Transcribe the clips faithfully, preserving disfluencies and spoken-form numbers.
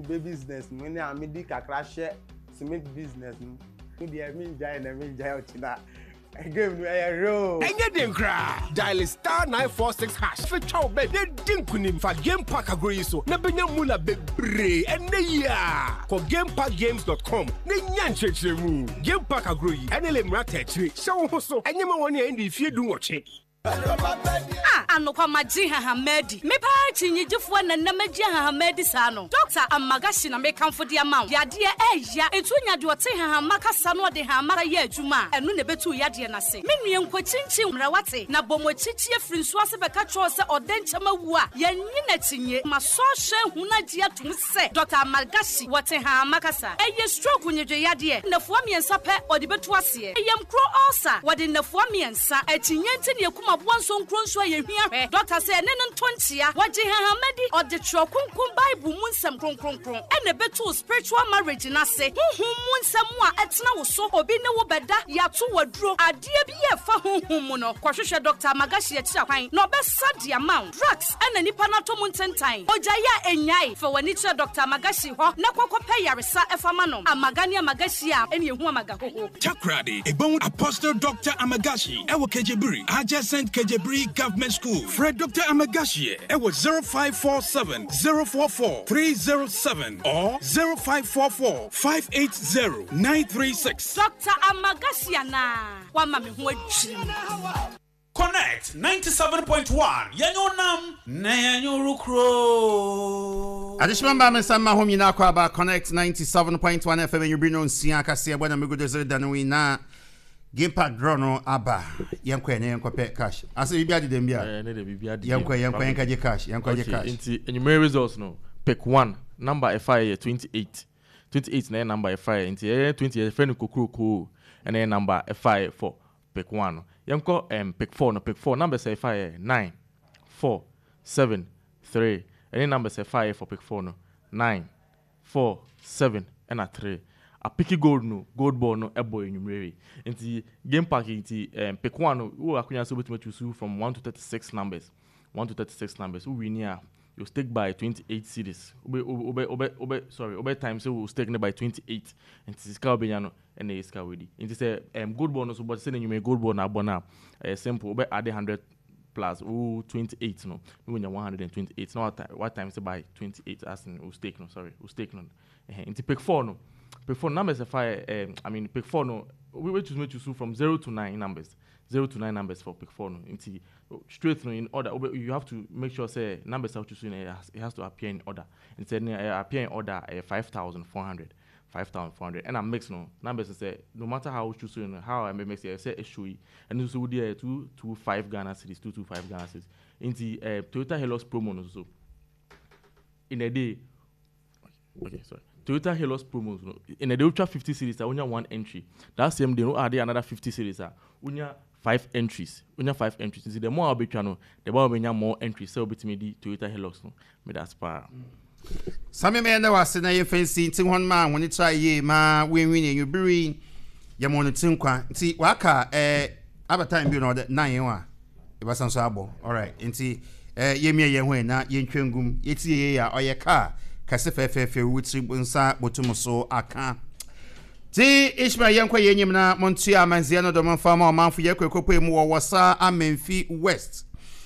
Kube business mu ne a medi kakra hyɛ cement business mu. Me deɛ, mengyae na mengyae ɔkyena game no ɛyɛ real. Ɛnyɛ den koraa. Dial star nine four six hash fetwa wo bet na di nkunim. Fa Game Park agorɔ yi so na bɛnya mula bebree ɛnɛ yi a kɔ gameparkgames dot com na nya nkyerɛkyerɛmu. Game Park agorɔ yi ɛne le mmara tɛkyire hyɛ wo ho so. Ɛnyɛ ma wɔne a ɛndi fie du nwɔtwe. A anokwa magye hahama adi. Mepaa kyinnyegyefoɔ nanam agye hahama adi saa no. Doctor Amagahyi na mekamfo de ama wo. Yadeɛ ɛɛya ɛnti wonya deɛ ɔte hahama kasa no, ɔde hahama yɛ adwuma a, ɛno na ɛbɛtu yadeɛ no ase. Me nua, nkɔkyinkyin mmerɛ wate na bɔ mɔkyikyie firi nsuo ase bɛka kyerɛw sɛ ɔdɛ nkyɛm awu a yɛnyi n'akyinye. Masɔ hwɛ hu no agye atom sɛ Doctor Amagahyi wɔte hahama kasa. Ɛyɛ stroke nyedwe yadeɛ, nnafua mmiɛnsa pɛ ɔde bɛtu aseɛ. Ɛyɛ nkuro ulcer, wɔde nnafua mmiɛnsa. Akyinnye nti ne yɛkum aboa nso nkuro nso a yɛhwia hwɛ. Doctor sɛ ɛne no nto nkyea. Wɔgye hahama di, ɔde twerɛ kronkron Bible mu nsɛm kronkronkron ɛna ɛbɛtu spiritual marriage n'ase. Honhom mu nsɛm a ɛtena wo so, obi ne wo bɛda, yɛato waduro adeɛ bi yɛ fa honhom mu no, kɔhwehwɛ Doctor Amagahyi akyira kwan na ɔbɛsa de ama wo. Drugs ɛna nipa no atɔ mu ntentan, ogyae a ɛnyae. Fa w'ani kyerɛ Doctor Amagahyi hɔ na kɔkɔpɛ yaresa ɛfa ma no. Amaga ne Amagahyi a ɛne ɛhu amaga hoho. Takoradi, Ebon Apostle Doctor Amagashi, Ewo Kejebiri, adjacent Kejebiri Government School. Frɛ Doctor Amagashi, Ewo zero five four seven zero four four three zero seven or zero five four four five eight zero nine three six. Doctor Amagahyi anaa wama me ho adwiri me. Connect ninety-seven point one, yɛnyɛ nam na yɛnyɛ orokuro. Adehyema mba, me nsa mma hom nyinaa kɔ aba Connect ninety-seven point one F M. Anwummere no nsia kaseɛ bɔ na megudo sɛ da no yi na Game Park draw no aba. Yɛnkɔ ɛ na yɛnkɔpɛ cash ase biribi ade dɛm bi a. Eh, ne de biribi ade. Yɛnkɔ, yɛnkɔ, yɛnkɔgye cash, yɛnkɔgye Okay, cash. Nti enyimire results no, pick one number ɛfa yɛ twenty eight, twenty eight na yɛ number ɛfa yɛ. Nti ɛyɛ twenty, yɛfrɛ no kokurokoo, ɛna yɛ number ɛfa yɛ for pick one no. Yɛnkɔ um, pick four no. Pick four numbers ɛfa yɛ nine, four, seven, three. Ɛne numbers ɛfa yɛ for pick four no, nine, four, seven ɛna three. Apiki gold no, gold ball no ɛbɔ enyimire yi. Nti Game Park yi, nti um, pick one no, wo akonnwa sɛ wobɛtumi choose from one to thirty six numbers, one to thirty six numbers. Wo win a, you stake by twenty eight cedis. Wobe wobe wobe wobe sorry, wobe times sɛ wo stake ne by twenty eight. Nti sika a wobɛnya no ɛna ɛyɛ sika wedi. Nti sɛ um, gold ball no so bɔ sɛ n'enyimire gold ball na abɔ no a, ɛyɛ simple. Wobɛ add hundred plus wo twenty eight no na wonya one hundred and twenty eight, na what what times by twenty eight as in wo stake no, sorry, wo stake no. Ɛhɛn, nti pick four no, pick four numbers ɛfa yɛ um, I mean, pick four no, we we choose we choose from zero to nine numbers, zero to nine numbers for pick four no. Nti straight no in order, you have to make sure say numbers a choose no, it has, it has to appear in order. Nti ɛɛ appear in order ɛyɛ five thousand four hundred, five thousand four hundred. Ɛna mix no, numbers sɛ no matter how you choose no, how I mix it, sɛ ɛshow yi, ɛno nso wodi ɛyɛ two two five Ghana cedis, two two five Ghana cedis. Nti ɛɛ Toyota Hilux promo no so in a day, okay, sorry, Toyota Hilux promos no, in a day wotwa fifty cedis a, wonya one entry. That same day no, add another fifty cedis a, wonya five entries, wonya five entries. Nti the more a wobɛtwa no, the more wobɛnya more entries sɛ wobɛtumi di Toyota Hilux no. Meda ase paa. Sami mɛyɛ dɛ wase na yɛmfa nsi nti hɔn ma wɔne tra yie ma wɔnwi ne anwummere yɛma wɔn ti nkwa. Nti waka ɛɛ aba time bi na ɔde nine a yɛbɛsan so abɔ. Alright, nti ɛɛ yɛmia yɛn ho yɛ na yɛntwa ngum yɛti yɛ yɛ a ɔyɛ kaa kɛse fɛɛfɛɛfɛ wotiri nsa botum so aka. Ti Ishmael, yɛnkɔ yɛn enyim na montua amanzeɛ no dɔm mfa ma ɔmanfo. Yɛkɔ ekɔpɔ mu wɔ Wɔsa Amenfi West.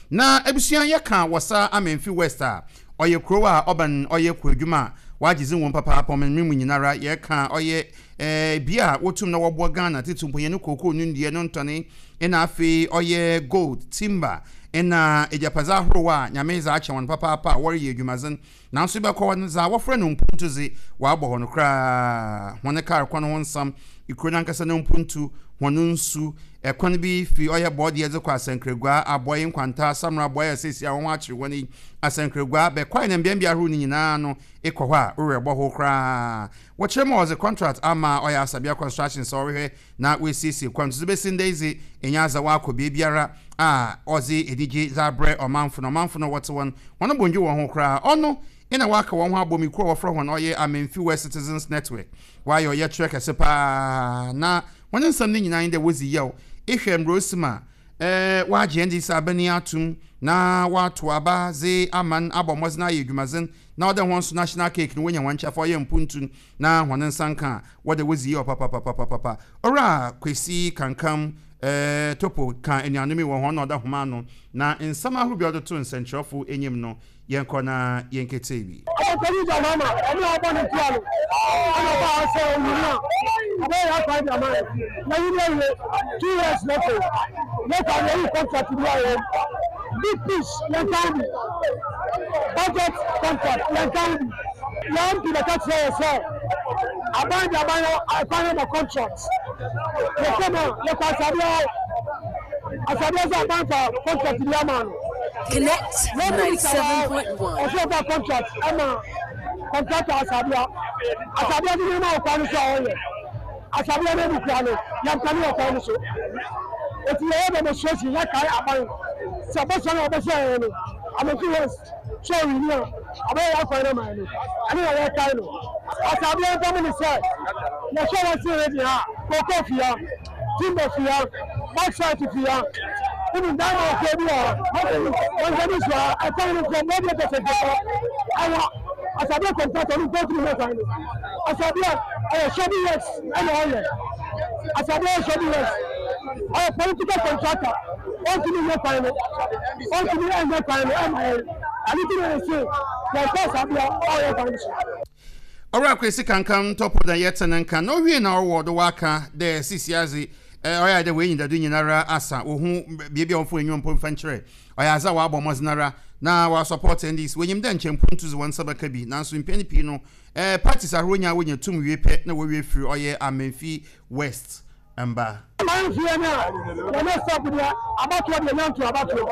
Na abusua, yɛka Wɔsa Amenfi West a, ɔyɛ kurow a ɔbɛn ɔyɛ kuadwuma a wagye dzi wɔn papaapa. Ɔman mu nyinara yɛka ɔyɛ ɛɛ bea a wotum na wɔboa Ghana tete mpo yɛn kookoo no nnua no ntɔne, ɛna afei ɔyɛ gold, timber, ɛna agyapadze ahorow a Nyame dze akyɛ wɔn papaapa a wɔreyɛ adwumadzen. Nanso bɛkɔ hɔ no, dza wɔfrɛ no mpuntu dze wɔabɔ hɔ no koraa. Wɔn kaar kwan ho nsam, ekuro nankasa no mpuntu, wɔn nsu ɛkwan bi fi ɔyɛ bɔɔdeɛ dze kɔ Asɛnkragua, Abɔe, Nkwanta, Samra, Abɔe a seesie a wɔn akyere wɔn yi, Asɛnkragua bɛkwae na mbeambea ahorow no nyinaa no, ekɔ hɔ a worɛ bɔ ho koraa. Wɔkyerɛ mu a, wɔdze contract ama ɔyɛ Asabea Construction sɛ ɔrehwɛ na wɔasiesie kwan so bɛsi ndɛ dze ɛnyɛ adza wakɔ beebiara a ɔdze anigye dze abrɛ ɔmanfo no. Ɔmanfo no wɔte wɔn wɔn bondwe wɔn ho koraa. Ɔno ɛna waka wɔn ho abɔ mu kuo a wɔfrɛ wɔn ɔyɛ Amenfi West Citizens Network. Wɔayɛ ɔyɛ kyerɛ kɛse paa na wɔn nsɛm no nyinaa dɛ wɔdzi yaw. Ehwɛ mmerɛ osi ma eh, wagye N D C abani atum na wato aba dze aman abɔ mmɔdzen ayɛ adwumadzen na ɔde wɔn nso national cake no wonya wɔn kyɛfa ɔyɛ mpuntu na wɔn nsa nka a wɔde wɔdzi yie ɔpapapapapapa. Ɔwura Kwesi Kankam eh, Topo ka anuanom yi wɔ hɔn na ɔda homa ano na nsɛm ahorow bi a ɔde to nsɛnkyerɛwfo anim no, yɛnkɔ na yɛnkete bi. Ɔkɔni Jahama ɔmo a ɔbɔ ne tua no ɛna ɔba ha sɛ onyini a ɔbɛyɛ akwan de ama yɛ na yi ne awie two years n'afɛ yɛkɔ a yɛyi contract bi a wɔm Big Push yɛn kan bi, budget contract yɛn kan bi. Yɛn M P bɛka kyerɛ yɛ sɛ aban de aban akwan yɛ ma contract. Yɛkɔ mu a yɛkɔ asadeɛ hɔ, asadeɛ sɛ aban fa contract bi ama no. Connect ninety-seven point one. Ɔsɛ ɔfa contract ɛma contractor asadeɛ, asadeɛ no nneɛma wɔ kwan no so a ɔyɛ asadeɛ no emu kura no yɛmpɛ ne wɔ kwan no so. Eti yɛyɛ demonstration, yɛkae aban sɛ bɔsɔ no a ɔbɛhyɛ yɛn no Amenfi West sɛ ɔwini a ɔbɛyɛ yɛ akwan no ama yɛn no, ɛne na yɛkae no. Asadeɛ ntam ne sɛ yɛhwɛ wɔn si region ha, koko fia, timber fia, bauxite fia, even diamond fia bi wɔ hɔ, wɔn so a ɛkwan no from radiator sɛ ɛwɔ asadeɛ contractor no nkɔtumi hɛ kwan no. Asadeɛ ɛyɛ shoddy works ɛna ɔyɛ, asadeɛ yɛ shoddy works, ɔyɛ political contractor, ɔntumi nyɛ kwan no, ɔntumi ɛnyɛ kwan no ɛma yɛn. Ɛne ti na yɛ se yɛn kɔ asadeɛ ɔyɛ kwan no so. Ɔwura Kwesi Kankam Tɔpo na yɛte ne nka na owie na ɔwɔ do waka dɛ sisi adze ɔyɛ dɛ wɔn enyidado nyinara asa ohun beebi a wɔfo enyiwa mpo mfa nkyerɛ ɔyɛ adze a wɔabɔ mmɔdzen ara na wɔasupport N D C. Wɔnyim dɛ nkyɛn mpuntu dze wɔn nsa bɛka bi, nanso mpɛn pii no ɛɛ parties ahorow nyinaa wɔnya tum wie pɛ na wɔwie firi ɔyɛ Amenfi West mba. Amanfie no a yɛne stop deɛ abatoɔ deɛ nyanto abatoɔ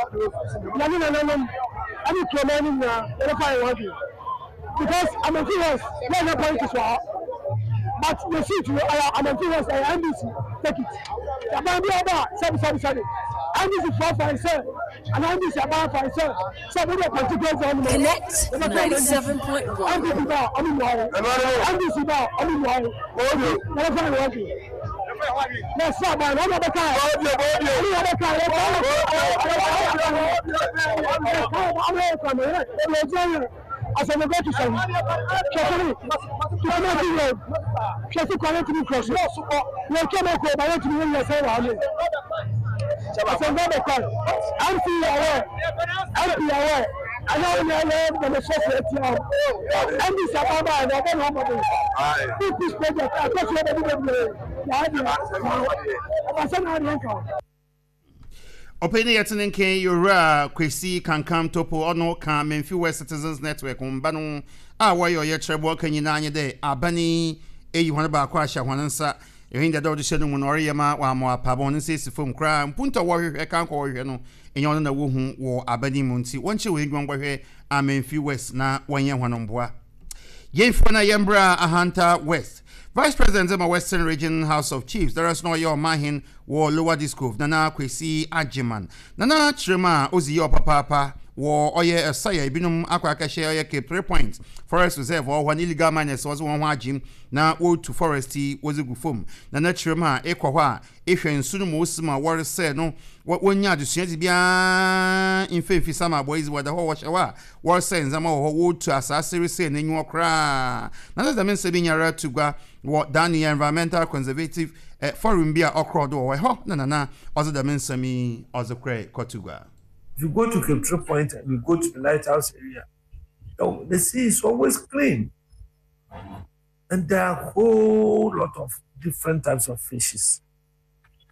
yɛne nananom ɛne kuroma no nyinaa yɛbɛfa yɛn adwene because Amenfi West yɛnyɛ politics wɔ hɔ, but the seat no ɛyɛ Amenfi West, ɛyɛ N D C take it. Aban bi ɔba a sɛbi sɛbi sɛbi N D C foɔ fan sɛ ana N D C aban fan sɛ sɛ mo de particular zone no. Connect ninety-seven point one. N P P ba a ɔmo mu ayɛ, N D C ba a ɔmo mu ayɛ, yɛbɛfa yɛn adwene na sɛ aban na ɔmo bɛka yɛ ɔmo yɛ bɛka yɛ ɔmo yɛ kwan yɛ yɛ gyina yɛ asɔmɔgɔ ti sɛn hwɛsɛri Tukumasi Road hwɛsi kwan yɛ tumi kɔ so yɛ twɛ mɛ kɔ ba yɛ tumi yɛ sɛ wɔ ha mi asɔmɔgɔ bɛ kwan M C yɛ M P yɛ ɛnyɛ wɔn yɛ yɛ demonstration eti hɔ. N D C aban ba yɛ na ɔbɛ na ɔmɔ de Big Push project akɔsi yɛ bɛ bi bebree yɛ adi ɔbɛsɛ na adi nka. Ɔpɛni yɛte ne nkan yɛwura Kwesi Kankam Topo, ɔno ka Memfi West Citizens Network mba no a wɔyɛ ɔyɛ kyerɛboɔ ka nyinaa nye dɛ abane eyi hɔn baako ahyɛ hɔn nsa ɛhɛn dada ɔde hyɛ no mu na ɔreyɛ ma wɔama apaba hɔn nsa esi fam koraa. Mpuntu a wɔrehwehwɛ kan kɔ wɔrehwehwɛ no ɛnyɛ ɔno na wohu wɔ abane mu, nti wɔnkyerɛ wɔn adwuma nkɔhwɛ Amenfi West na wɔnyɛ hɔn mboa. Yɛmfo na yɛmbra Ahanta West. Vice President ma Western Region House of Chiefs dara so na ɔyɛ ɔmahen wɔ Lower Dixcove, Nana Kwesi Agyeman, nana kyerɛ mu a ɔzi yɛ ɔpapaapa wɔ ɔyɛ ɛsaya ebinom akɔ akɛhyɛ ɔyɛ Cape Three Points Forest Reserve ɔwɔ hɔ ne illegal miners wɔdze wɔn ho agyem na wɔretu forest yi wɔdze gu fam. Nana kyerɛ mu a ekɔ hɔ a ehwɛ nsu no ma osi mu a wɔresɛɛ no, wɔnya adesua dze biara mfimfi sama abɔ yi wɔda hɔ wɔhyɛ hɔ a wɔresɛe ndzɛmba wɔ hɔ, wɔretu asase resɛe n'enyiwa koraa. Na sɛ dɛm nsɛm yi nyara to gua wɔ Daniel Environmental Conservative eh, Forum bi a ɔkorɔ do wɔ hɔ na nana ɔdze dɛm nsɛm yi ɔdze korɛ kɔto gua. If you go to Cape Three Point and you go to the lighthouse area, the sea is always clean. And there are a whole lot of different types of fishes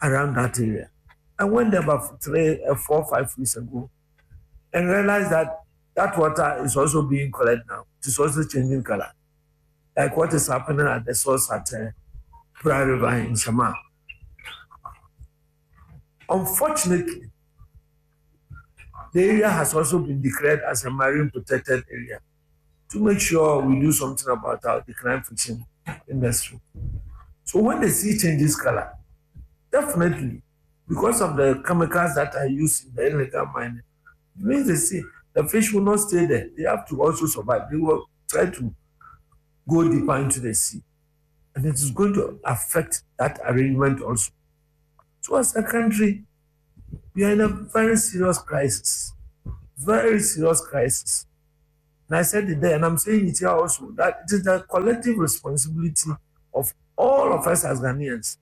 around that area. I went there about three, uh, four, five weeks ago and realized that that water is also being colored now. It is also changing color. Like what is happening at the source at uh, Pra River in Shama. Unfortunately, the area has also been declared as a marine protected area to make sure we do something about our decline fishing industry. So when the sea changes color, definitely, because of the chemicals that are used in the illegal mining, it means the sea, the fish will not stay there. They have to also survive. They will try to go deeper into the sea. And it is going to affect that arrangement also. So as a country, We are in a very serious crisis. Very serious crisis. And I said it there, and I'm saying it here also, that it is the collective responsibility of all of us as Ghanaians.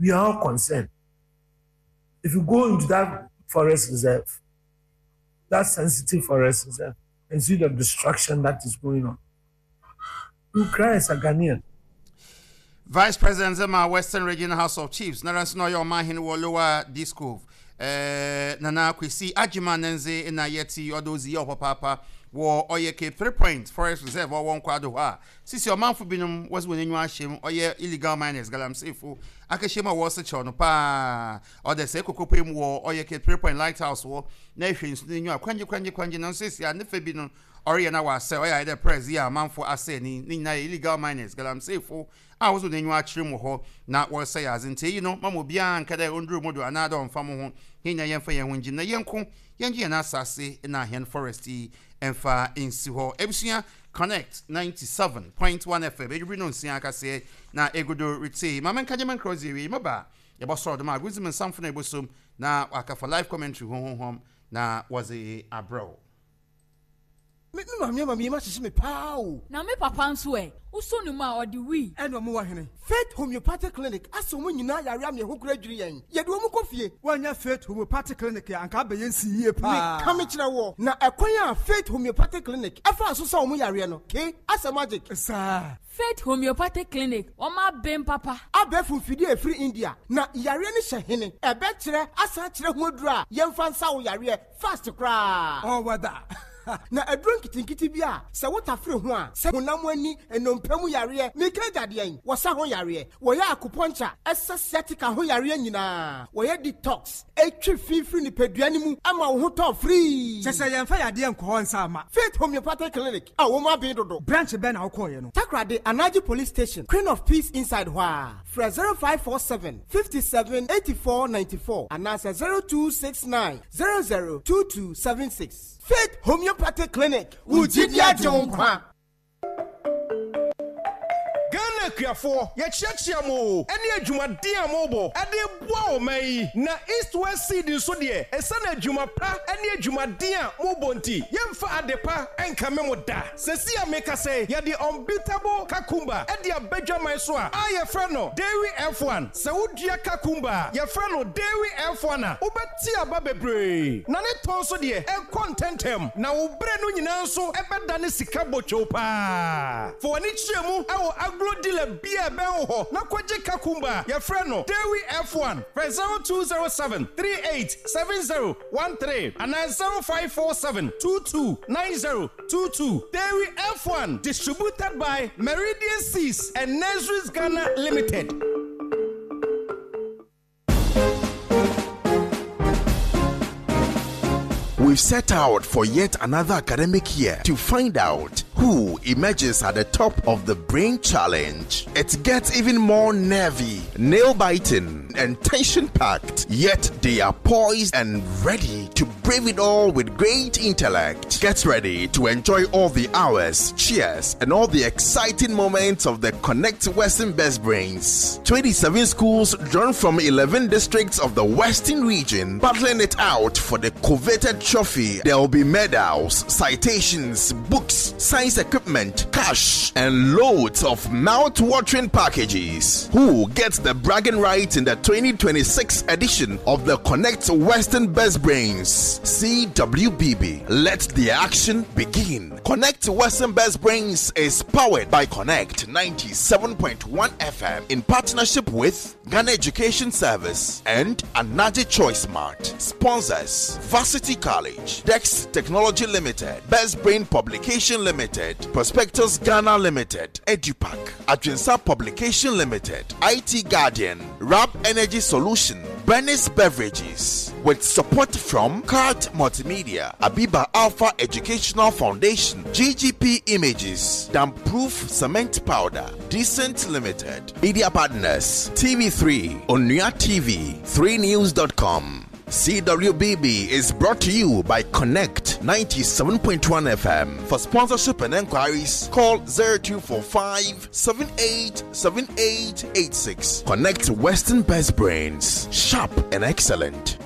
We are all concerned. If you go into that forest reserve, that sensitive forest reserve, and see the destruction that is going on, you cry as a Ghanaian. Vice President Zema Western Region House of Chiefs, Naransi no Omanhene wɔ Lower Dixcove, eh, Nana Kwesi Agyeman Nenze na yeti odozi yo papa wɔ ɔyɛ Cape Three Point Forest Reserve ɔwɔ nkwado hɔ a sisi ɔmanfo binom wɔsi wɔn enyiwa ahyɛm ɔyɛ illegal miners galamseyfo akɛhyɛ mu a wɔsi kyɛw no paa ɔde sɛ ekokopo mu wɔ ɔyɛ Cape Three Point Lighthouse wɔ na ehwɛ nsu n'enyiwa kwangye kwangye kwangye na nso esi a ne fɛ bi no ɔreyɛ na wasɛ ɔyɛ ayɛ dɛ press yi a amanfo asɛ ni ne nyinaa yɛ illegal miners galamseyfo a wɔsi wɔn enyiwa akyerɛ mu hɔ na wɔresɛ yɛ adze nti eyi no mama obiara nka dɛ ɔnduru mu do anaadɛ ɔmfa mo ho yɛn nyinaa yɛmfa yɛn ho ngyim na yɛnko yɛngye yɛn asase na hɛn forest yi ɛmfa nsi hɔ. Ebusua, Connect ninety-seven point one F M edwibiri no nsia akaseɛ na egudo rete maame nka gyeme nkra ɔdze ewie maba yɛbɔsɔrɔ dɛm agudzi mu nsamfo na ebosom na wakafa live commentary honhom na wɔdze abrɛw. Me me maame ama mi ma hyehyɛ me paa o. Na me papa nso ɛ, wosɔ ne mu a ɔde wii. Ɛna ɔmo wɔ hene Faith Homeopathic Clinic asɛ ɔmo nyinaa yare ame ɛho kora dwiri yɛn, yɛde ɔmo kɔ fie. Woanya Faith Homeopathic Clinic a anka abɛyɛ nsi yie paa. Meka me kyerɛ wɔ na ɛkwan a Faith Homeopathic Clinic ɛfa so sɛ ɔmo yareɛ no ke asɛ magic. Saa. Faith Homeopathic Clinic, wɔn abɛn papa. Abɛɛfo mfidie a ɛfiri India na yareɛ no hyɛ hene ɛbɛkyerɛ asan kyerɛ ho aduru a yɛmfa nsa wo yareɛ fast koraa. Ɔwɔda. Na aduro nketenkete bi a sɛ wotafere ho a sɛ honam ani nnompe mu yareɛ meka agyadeɛn wɔsa ho yareɛ, wɔyɛ acupuncture ɛsɛ sciatica ho yareɛ nyinaa, wɔyɛ detox ɛtwi fifiri nipadua no mu ama wo ho tɔ firii. Kyɛ sɛ yɛmfa yadeɛ nkɔ hɔ nsa ama. Faith Homeopathic Clinic a wɔn abɛn dodo. Branch bɛn na wokɔɔyɛ no? Takoradi Anaji Police Station, Queen of Peace inside hɔ a frɛ zero five four seven fifty-seven eighty-four ninety-four anaasɛ zero two six nine zero zero two two seven six. Faith Homeopathic Clinic, wo gyidi agye wo nkwa. Ghana akuafoɔ, yɛkyiakyia mo ɛne adwumaden a mobɔ ɛde boa ɔman yi. Na East West Seed nso deɛ, ɛsiane adwuma pa ne adwumaden a mobɔ nti, yɛmfa ade pa ɛnkame mo da. Sɛsi a meka sɛ yɛde unbeatable cucumber ɛde abadwaman so a a yɛfrɛ no Dairy F one. Sɛ wodua cucumber a yɛfrɛ no Dairy F one a, wobɛte aba bebree na ne tɔn so deɛ ɛkɔ ntɛntɛm na wo berɛ no nyinaa nso ɛbɛda ne sika bɔtwow paa. Fa w'ani kyerɛ mu ɛwɔ agro dealer bia ɛbɛn wo hɔ na kɔgye cucumber a yɛfrɛ no Dairy F one. Frɛ zero two zero seven three eight seven zero one three anaa zero five four seven two two nine zero two two. Dairy F one, distributed by Meridian Seas and Nurseries Ghana Limited. We've set out for yet another academic year to find out who emerges at the top of the Brain Challenge. It gets even more nervy, nail biting, and tension packed, yet they are poised and ready to brave it all with great intellect. Get ready to enjoy all the hours, cheers, and all the exciting moments of the Connect Western Best Brains. twenty-seven schools drawn from eleven districts of the Western region battling it out for the coveted trophy. There will be medals, citations, books, science equipment, cash, and loads of mouth-watering packages. Who gets the bragging rights in the twenty twenty-six edition of the Connect Western Best Brains? C W B B. Let the action begin. Connect Western Best Brains is powered by Connect ninety-seven point one F M in partnership with Ghana Education Service and Anaji Choice Mart. Sponsors: Varsity College, Dex Technology Limited, Best Brain Publication Limited, Prospectus Ghana Limited, EduPack, Adrinsa Publication Limited, I T Guardian, Rap Energy Solution, Bernice Beverages, with support from Card Multimedia, Abiba Alpha Educational Foundation, G G P Images, Damproof Cement Powder, Decent Limited, Media Partners, T V three, Onua T V, three news dot com. C W B B is brought to you by Connect ninety-seven point one F M. For sponsorship and enquiries, call zero two four five seven eight seven eight eight six. Connect Western Best Brains, sharp and excellent.